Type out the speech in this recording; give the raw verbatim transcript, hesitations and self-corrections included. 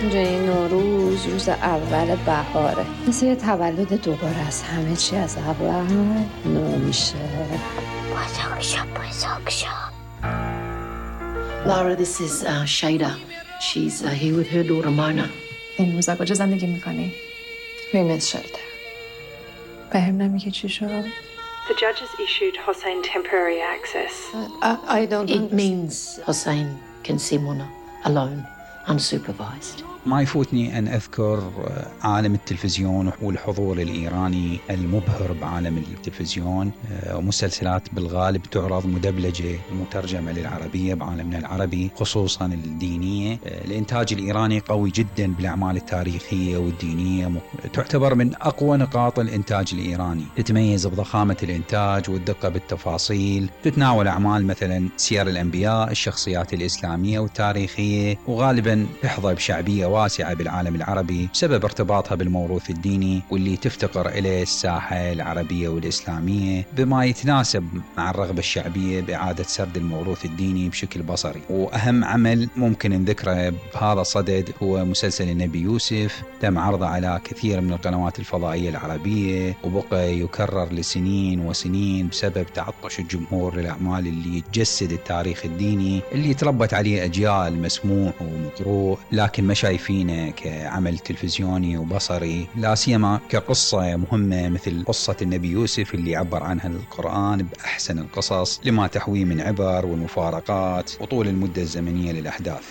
اینجوری نوروز روز اول بهاره، مثل یه تولد دوباره است، همه چی از اول نو میشه. بزرگ شو بزرگ شو. Lara, this is uh, Shada. She's uh, here with her daughter Mona. این روزا کجا زندگی میکنی؟ Women's shelter. بهم نمیگه چی شد؟ The judge has issued Hossein temporary access. I, I don't It means Hossein can see Mona alone, unsupervised. ما يفوتني أن أذكر عالم التلفزيون والحضور الإيراني المبهر بعالم التلفزيون. مسلسلات بالغالب تعرض مدبلجة ومترجمة للعربية بعالمنا العربي، خصوصا الدينية. الإنتاج الإيراني قوي جدا بالأعمال التاريخية والدينية، تعتبر من أقوى نقاط الإنتاج الإيراني، تتميز بضخامة الإنتاج والدقة بالتفاصيل، تتناول أعمال مثلا سير الأنبياء، الشخصيات الإسلامية والتاريخية، وغالبا تحظى بشعبية واسعة بالعالم العربي بسبب ارتباطها بالموروث الديني واللي تفتقر إليه الساحة العربية والإسلامية، بما يتناسب مع الرغبة الشعبية بإعادة سرد الموروث الديني بشكل بصري. وأهم عمل ممكن نذكره بهذا الصدد هو مسلسل النبي يوسف، تم عرضه على كثير من القنوات الفضائية العربية وبقى يكرر لسنين وسنين بسبب تعطش الجمهور للأعمال اللي تجسد التاريخ الديني اللي تربت عليه أجيال مسموع ومقروء، لكن ما شايفينه كعمل تلفزيوني وبصري، لا سيما كقصة مهمة مثل قصة النبي يوسف اللي عبر عنها القرآن بأحسن القصص لما تحويه من عبر والمفارقات وطول المدة الزمنية للأحداث.